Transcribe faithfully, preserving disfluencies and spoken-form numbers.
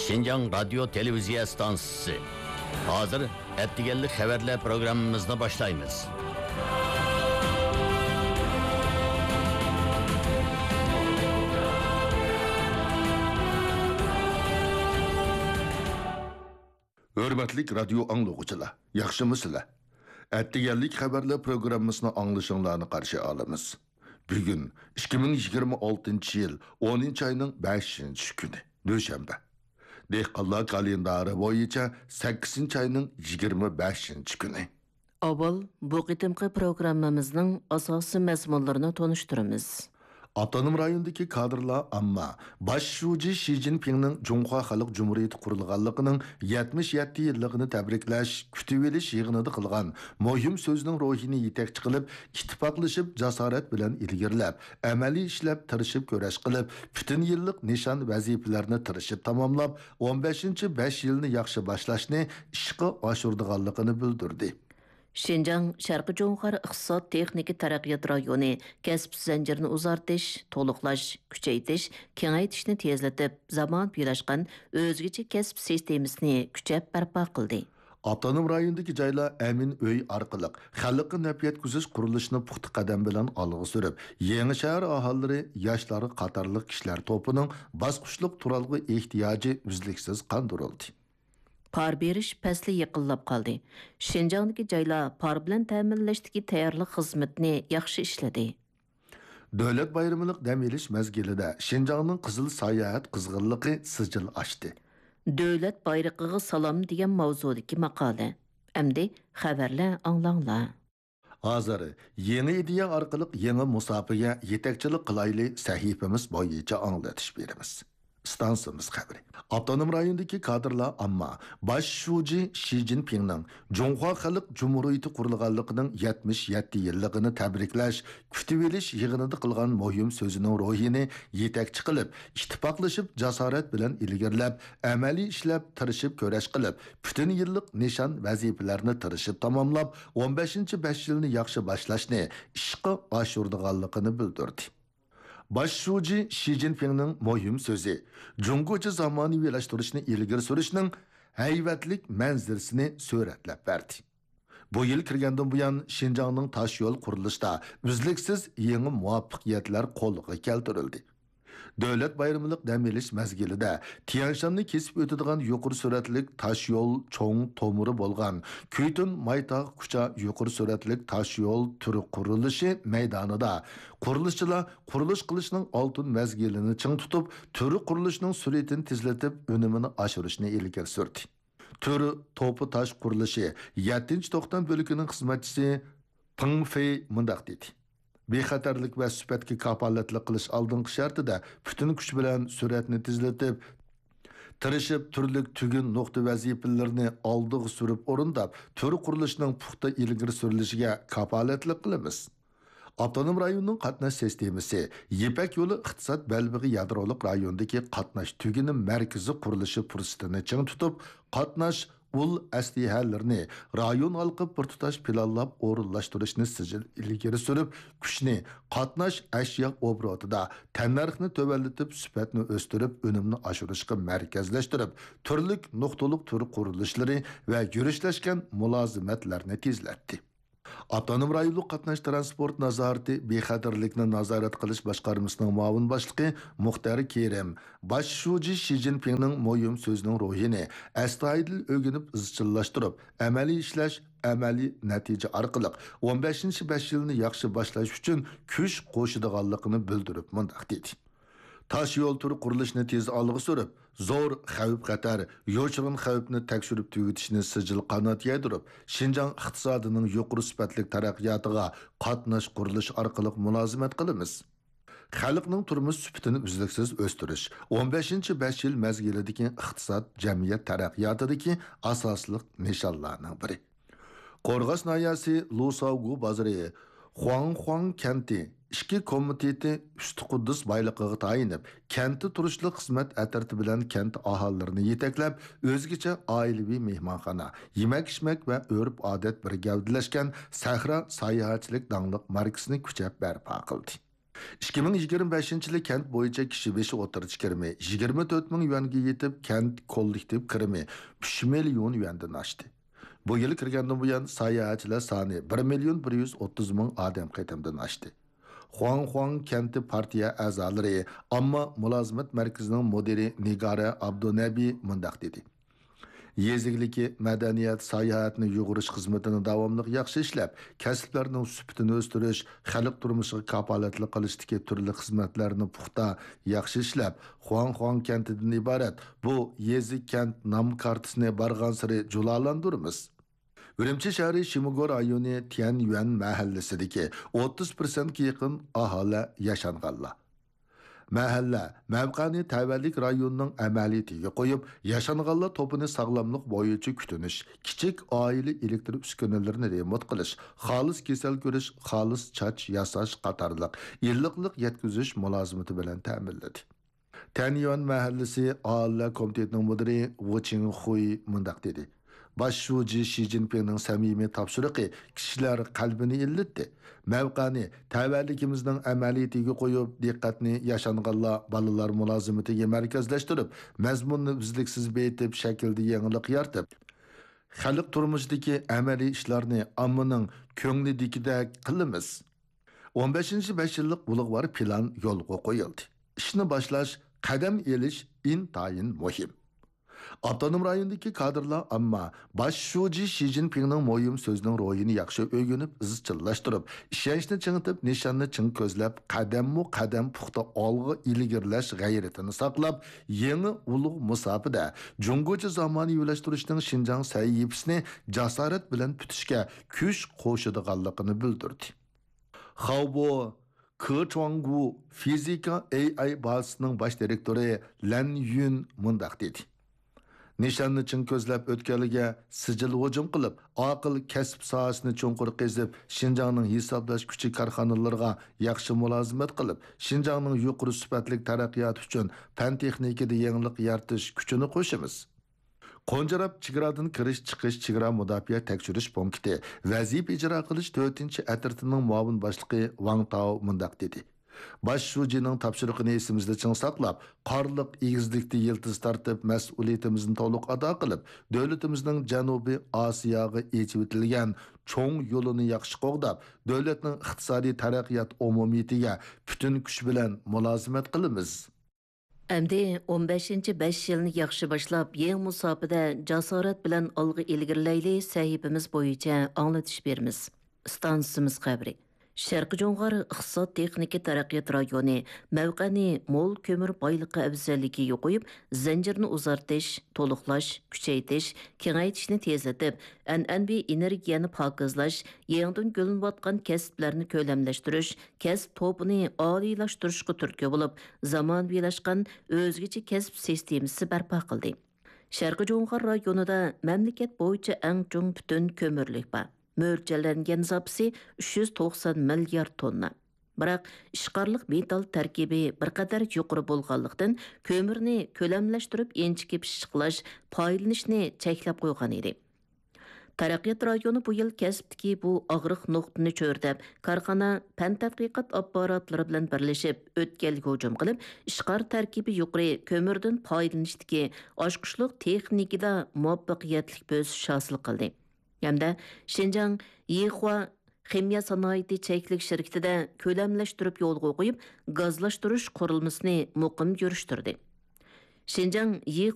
شىنجاڭ رادىيو تېلېۋىزىيە ئىستانسىسى. ھازىر ئەتىگەنلىك خەۋەرلەر پروگراممىمىزنى باشلايمىز. ھۆرمەتلىك رادىيو ئاڭلىغۇچىلار، ياخشىمۇسىلەر؟ ئەتىگەنلىك خەۋەرلەر پروگراممىسىنى ئاڭلىشىڭلارنى قارشى ئالىمىز. بۈگۈن ئىككى مىڭ يىگىرمە ئالتىنچى يىل ئونىنچى ئاينىڭ بەشىنچى كۈنى، دۈشەنبە. دېھقانلار كالېندارى بويىچە سەككىزىنچى ئاينىڭ يىگىرمە بەشىنچى كۈنى. ئاۋۋال بۇ قېتىمقى پروگراممىمىزنىڭ ئاساسىي مەزمۇنلىرىنى تونۇشتۇرىمىز. ئاپتونوم رايوندىكى كادىرلار ئامما باش شۇجى شى جىنپىڭنىڭ جۇڭخۇا خەلق جۇمھۇرىيىتى قۇرۇلغانلىقىنىڭ يەتمىش يەتتە يىللىقىنى تەبرىكلەش، كۈتۈۋېلىش يىغىنىدا قىلغان مۇھىم سۆزىنىڭ روھىنى يېتەكچى قىلىپ، ئىتتىپاقلىشىپ، جاسارەت بىلەن ئىلگىرىلەپ، ئەمەلىي ئىشلەپ، تىرىشىپ كۈرەش قىلىپ، پۈتۈن يىللىق نىشان ۋەزىپىلەرنى تىرىشىپ تاماملاپ، ئون بەشىنچى بەش يىلنى ياخشى باشلاشنى ئىشقا ئاشۇرىدىغانلىقىنى بىلدۈردى. شىنجاڭ شەرقىي جۇڭخۇا ئىقتىساد تېخنىكا تەرەققىيات رايونى كەسىپ زەنجىرىنى ئۇزارتىش، تولۇقلاش، كۈچەيتىش، كېڭەيتىشنى تېزلىتىپ، زامانىۋىلاشقان ئۆزگىچە كەسىپ سىستېمىسىنى كۈچەپ بەرپا قىلدى. ئاپتونوم رايوندىكى جايلار ئەمىن ئۆي ئارقىلىق خەلققە نەپ يەتكۈزۈش قۇرۇلۇشىنى پۇختا قەدەم بىلەن ئالغا سۈرۈپ، يېڭى شەھەر ئاھالىلىرى، ياشلار قاتارلىق كىشىلەر توپىنىڭ باسقۇچلۇق تۇرالغۇ ئېھتىياجى ئۈزلۈكسىز قاندۇرۇلدى. پار بېرىش پەسلى يېقىنلاپ قالدى. شىنجاڭدىكى جايلار پار بىلەن تەمىنلەشتىكى تەييارلىق خىزمىتىنى ياخشى ئىشلىدى. دۆلەت بايرىملىق دەم ئېلىش مەزگىلىدە شىنجاڭنىڭ قىزىل ساياھەت قىزغىنلىقى سىجىل ئاشتى. دۆلەت بايرىقىغا سالام دېگەن ماۋزۇدىكى ماقالە. ئەمدى خەۋەرلەر ئاڭلاڭلار. ھازىر يېڭى ئىدىيە ئارقىلىق يېڭى مۇساپىگە يېتەكچىلىك قىلايلى سەھىپىمىز بويىچە ئاڭلىتىش بېرىمىز. ئىستانسىمىز خەۋىرى. ئاپتونوم رايوندىكى كادىرلار ئامما باش شۇجى شى جىنپىڭنىڭ جۇڭخۇا خەلق جۇمھۇرىيىتى قۇرۇلغانلىقىنىڭ يەتمىش يەتتە يىللىقىنى تەبرىكلەش، كۈتۈۋېلىش يىغىنىدا قىلغان مۇھىم سۆزىنىڭ روھىنى يېتەكچى قىلىپ، ئىتتىپاقلىشىپ، جاسارەت بىلەن ئىلگىرىلەپ، ئەمەلىي ئىشلەپ، تىرىشىپ كۈرەش قىلىپ، پۈتۈن يىللىق نىشان ۋەزىپىلەرنى تىرىشىپ تاماملاپ، ئون بەشىنچى بەش يىلنى ياخشى باشلاشنى ئىشقا ئاشۇرىدىغانلىقىنى بىلدۈردى. باش شۇجى شى جىنپىڭنىڭ مۇھىم سۆزى جۇڭگوچە زامانىۋىلاشتۇرۇشنى ئىلگىرى سۈرۈشنىڭ ھەيۋەتلىك مەنزىرىسىنى سۈرەتلەپ بەردى. بۇ يىل كىرگەندىن بۇيان، شىنجاڭنىڭ تاشيول قۇرۇلۇشىدا ئۈزلۈكسىز يېڭى مۇۋەپپەقىيەتلەر قولغا كەلتۈرۈلدى. دۆلەت بايرىملىق دەم ئېلىش مەزگىلىدە تيەنشاننى كېسىپ ئۆتىدىغان يۇقىرى سۈرئەتلىك تاشيول چوڭ تومۇرى بولغان كۈيتۈن مايتاغ كۇچا يۇقىرى سۈرئەتلىك تاشيول تۈر قۇرۇلۇشى مەيدانىدا قۇرۇلۇشچىلار قۇرۇلۇش قىلىشنىڭ ئالتۇن مەزگىلىنى چىڭ تۇتۇپ، تۈر قۇرۇلۇشىنىڭ سۈرئىتىنى تېزلىتىپ، ئۈنۈمىنى ئاشۇرۇشنى ئىلگىرى سۈردى. تۈر توپا تاش قۇرۇلۇشى يەتتىنچى توختام بۆلىكىنىڭ خىزمەتچىسى پېڭ فېي مۇنداق دېدى: بىخەتەرلىك ۋە سۈپەتكە كاپالەتلىك قىلىش ئالدىنقى شەرتىدە پۈتۈن كۈچ بىلەن سۈرئەتنى تېزلىتىپ، تىرىشىپ، تۈرلۈك تۈگۈن نۇقتا ۋەزىپىلىرىنى ئالدىغا سۈرۈپ ئورۇنداپ، تۈر قۇرۇلۇشىنىڭ پۇختا ئىلگىرى سۈرۈلۈشىگە كاپالەتلىك قىلىمىز. ئاپتونوم رايوننىڭ قاتناش سىستېمىسى يىپەك يولى ئىقتىساد بەلبېغى يادرولۇق رايونىدىكى قاتناش تۈگۈنى مەركىزى قۇرۇلۇشى پۇرسىتىنى چىڭ تۇتۇپ، قاتناش ئۇل ئەسلىھەلىرىنى رايون ھالقىپ بىر تۇتاش پىلانلاپ ئورۇنلاشتۇرۇشنى سىجىل ئىلگىرى سۈرۈپ، كۈچنى، قاتناش ئەشيا ئوبوروتىدا تەننەرخنى تۆۋەنلىتىپ، سۈپەتنى ئۆستۈرۈپ، ئۈنۈمنى ئاشۇرۇشقا مەركەزلەشتۈرۈپ، تۈرلۈك نۇقتىلىق تۈر قۇرۇلۇشلىرى ۋە يۈرۈشلەشكەن مۇلازىمەتلەرنى تېزلەتتى. ئاپتونوم رايونلۇق قاتناش تىرانسپورت نازارىتى بىخەتەرلىكنى نازارەت قىلىش باشقارمىسىنىڭ مۇئاۋىن باشلىقى مۇختەر كېرىم باش شۇجى شى جىنپىڭنىڭ مۇھىم سۆزىنىڭ روھىنى ئەستايىدىل ئۆگىنىپ ئىزچىللاشتۇرۇپ، ئەمەلىي ئىشلەش، ئەمەلىي نەتىجە ئارقىلىق ئون بەشىنچى بەش يىلنى ياخشى باشلاش ئۈچۈن كۈچ قوشىدىغانلىقىنى بىلدۈرۈپ مۇنداق دېدى: تاش يول تۈر قۇرۇلۇشىنى تېز ئالغا سۈرۈپ، زور خەۋپ-خەتەر، يوشۇرۇن خەۋپنى تەكشۈرۈپ تۈگىتىشنى سىجىل قانات يايدۇرۇپ، شىنجاڭ ئىقتىسادىنىڭ يۇقىرى سۈپەتلىك تەرەققىياتىغا قاتناش قۇرۇلۇش ئارقىلىق مۇلازىمەت قىلىمىز. خەلقنىڭ تۇرمۇش سۈپىتىنى ئۈزلۈكسىز ئۆستۈرۈش، ئون بەشىنچى بەش يىل مەزگىلىدىكى ئىقتىساد، جەمئىيەت تەرەققىياتىدىكى ئاساسلىق نىشانلارنىڭ بىرى. قورغاس ناھىيەسى لۇساۋگۇ بازىرى خۇاڭخۇاڭ كەنتى ئىچكى كومىتېتى ئۈستى قۇددۇس بايلىقىغا تايىنىپ، كەنتتە تۇرۇشلۇق خىزمەت ئەترىتى بىلەن كەنت ئاھالىلىرىنى يېتەكلەپ، ئۆزگىچە ئائىلىۋى مېھمانخانا، يېمەك-ئىچمەك ۋە ئۆرپ-ئادەت بىر گەۋدىلەشكەن سەھرا ساياھەتچىلىك داڭلىق ماركىسىنى كۈچەپ بەرپا قىلدى. ئىككى مىڭ يىگىرمە بەشىنچى يىلى كەنت بويىچە كىشى بېشى ئوتتۇرىچە كىرىمى يىگىرمە تۆت مىڭ يۈەنگە يېتىپ، كەنت كوللېكتىپ كىرىمى ئۈچ مىليون يۈەندىن ئاشتى. بۇ يىل كىرگەندىن بۇيان، ساياھەتچىلەر سانى بىر مىليون بىر يۈز ئوتتۇز مىڭ ئادەم قېتىمدىن ئاشتى. خۇاڭخۇاڭ كەنتى پارتىيە ئەزالىرى، ئامما مۇلازىمەت مەركىزىنىڭ مۇدىرى نىگارە ئابدۇنەبى مۇنداق دېدى: يېزا ئىگىلىكى، مەدەنىيەت، ساياھەتنى يۇغۇرۇش خىزمىتىنى داۋاملىق ياخشى ئىشلەپ، كەسىپلەرنىڭ سۈپىتىنى ئۆستۈرۈش، خەلق تۇرمۇشىغا كاپالەتلىك قىلىشتىكى تۈرلۈك خىزمەتلەرنى پۇختا، ياخشى ئىشلەپ، خۇاڭخۇاڭ كەنتىدىن ئىبارەت بۇ يېزا كەنت نام كارتىسىنى بارغانسېرى جۇلالاندۇرىمىز. ئۈرۈمچى شەھىرى شىموگو رايونى تيەنيۈەن مەھەللىسىدىكى ئوتتۇز پىرسەنتكە يېقىن ئاھالە ياشانغانلار. مەھەللە مەۋقەنى تەۋەلىك رايوننىڭ ئەمەلىيىتىگە قويۇپ، ياشانغانلار توپىنى ساغلاملىق بويىچە كۈتۈنۈش، كىچىك ئائىلە ئېلېكتر ئۈسكۈنىلىرىنى رېمونت قىلىش، خالىس كېسەل كۆرۈش، خالىس چاچ ياساش قاتارلىق ئىللىقلىق يەتكۈزۈش مۇلازىمىتى بىلەن تەمىنلىدى. تەنيۈەن مەھەللىسى ئاھالىلەر كومىتېتىنىڭ مۇدىرى ۋۇ چىڭخۇي مۇنداق دېدى: باش شۇجى شى جىنپىڭنىڭ سەمىمىي تاپشۇرۇقى كىشىلەر قەلبىنى ئىللىتتى. مەۋقەنى تەۋەلىكىمىزنىڭ ئەمەلىيىتىگە قويۇپ، دىققەتنى ياشانغانلار، بالىلار مۇلازىمىتىگە مەركەزلەشتۈرۈپ، مەزمۇننى ئۈزلۈكسىز بېيىتىپ، شەكىلدە يېڭىلىق يارىتىپ، خەلق تۇرمۇشىدىكى ئەمەلىي ئىشلارنى ئاممىنىڭ كۆڭلىدىكىدەك قىلىمىز. ئون بەشىنچى بەش يىللىق ئۇلۇغۋار پىلان يولغا قويۇلدى. ئىشنى باشلاش، قەدەم ئېلىش ئىنتايىن مۇھىم. ئاپتونوم رايوندىكى كادىرلار ئامما باش شۇجى شى جىنپىڭنىڭ مۇھىم سۆزىنىڭ روھىنى ياخشى ئۆگىنىپ، ئىزچىللاشتۇرۇپ، ئىشەنچنى چىڭىتىپ، نىشاننى چىڭ كۆزلەپ، قەدەممۇ قەدەم پۇختا ئالغا ئىلگىرىلەش غەيرىتىنى ساقلاپ، يېڭى ئۇلۇغ مۇساپىدە جۇڭگوچە زامانىۋىلاشتۇرۇشنىڭ شىنجاڭ سەھىپىسىنى جاسارەت بىلەن پۈتۈشكە كۈچ قوشىدىغانلىقىنى بىلدۈردى. خاۋبو كېچۇاڭگۇ فىزىكا ئېي ئاي بازىسىنىڭ باش دىرېكتورى لەن يۈن مۇنداق دېدى: نىشاننى چىڭ كۆزلەپ، ئۆتكەلگە سىجىل ھۇجۇم قىلىپ، ئاقىل كەسىپ ساھەسىنى چوڭقۇر قېزىپ، شىنجاڭنىڭ ھېسابلاش كۈچى كارخانىلىرىغا ياخشى مۇلازىمەت قىلىپ، شىنجاڭنىڭ يۇقىرى سۈپەتلىك تەرەققىياتى ئۈچۈن پەن تېخنىكىدا يېڭىلىق يارىتىش كۈچىنى قوشىمىز. قونجىراپ چېگرادىن كىرىش چىقىش چېگرا مۇداپىئە تەكشۈرۈش پونكىتى ۋەزىپە ئىجرا قىلىش تۆتىنچى ئەترىتىنىڭ مۇئاۋىن باشلىقى ۋاڭ تاۋ مۇنداق دېدى: باش شۇجىنىڭ تاپشۇرۇقىنى ئېسىمىزدە چىڭ ساقلاپ، قارلىق ئېگىزلىكتە يىلتىز تارتىپ، مەسئۇلىيىتىمىزنى تولۇق ئادا قىلىپ، دۆلىتىمىزنىڭ جەنۇبىي ئاسىياغا ئېچىۋېتىلگەن چوڭ يولىنى ياخشى قوغداپ، دۆلەتنىڭ ئىقتىسادىي تەرەققىيات ئومۇمىيىتىگە پۈتۈن كۈچ بىلەن مۇلازىمەت قىلىمىز. ئەمدى ئون بەشىنچى بەش يىلنى ياخشى باشلاپ، يېڭى مۇساپىدە جاسارەت بىلەن ئالغا ئىلگىرىلەيلى سەھىپىمىز بويىچە ئاڭلىتىش بېرىمىز. ئىستانسىمىز خەۋىرى. شەرقىي جۇڭغار ئىقتىساد تېخنىكا تەرەققىيات رايونى مەۋقەنى مول كۆمۈر بايلىقى ئەۋزەللىكىگە قويۇپ، زەنجىرنى ئۇزارتىش، تولۇقلاش، كۈچەيتىش، كېڭەيتىشنى تېزلىتىپ، ئەنئەنىۋى ئېنېرگىيەنى پاكىزلاش، يېڭىدىن گۈللىنىۋاتقان كەسىپلەرنى كۆلەملەشتۈرۈش، كەسىپ توپىنى ئالىيلاشتۇرۇشقا تۈرتكە بولۇپ، زامانىۋىلاشقان ئۆزگىچە كەسىپ سىستېمىسى بەرپا قىلدى. شەرقىي جۇڭغار رايونىدا مەملىكەت بويىچە ئەڭ چوڭ پۈتۈن كۆمۈرلۈك بار. مۆلچەرلەنگەن زاپىسى ئۈچ يۈز توقسان مىليارد توننا. بىراق، ئىشقارلىق مېتال تەركىبى بىر قەدەر يۇقىرى بولغانلىقتىن، كۆمۈرنى كۆلەملەشتۈرۈپ ئىنچىكە پىششىقلاش، پايدىلىنىشنى چەكلەپ قويغان ئىدى. تەرەققىيات رايونى بۇ يىل كەسىپتىكى بۇ ئاغرىق نۇقتىنى چۆرىدەپ، كارخانا، پەن تەتقىقات ئاپپاراتلىرى بىلەن بىرلىشىپ، ئۆتكەلگە ھۇجۇم قىلىپ، ئىشقار تەركىبى يۇقىرى كۆمۈردىن پايدىلىنىشتىكى ئاچقۇچلۇق تېخنىكىدا مۇۋەپپەقىيەتلىك بۆسۈش ھاسىل قىلدى. ھەمدە شىنجاڭ يىخۇا خىمىيە سانائىتى چەكلىك شىركىتىدە كۆلەملەشتۈرۈپ يولغا قويۇپ، گازلاشتۇرۇش قۇرۇلمىسىنى مۇقىم يۈرۈشتۈردى. شىنجاڭ يىخۇا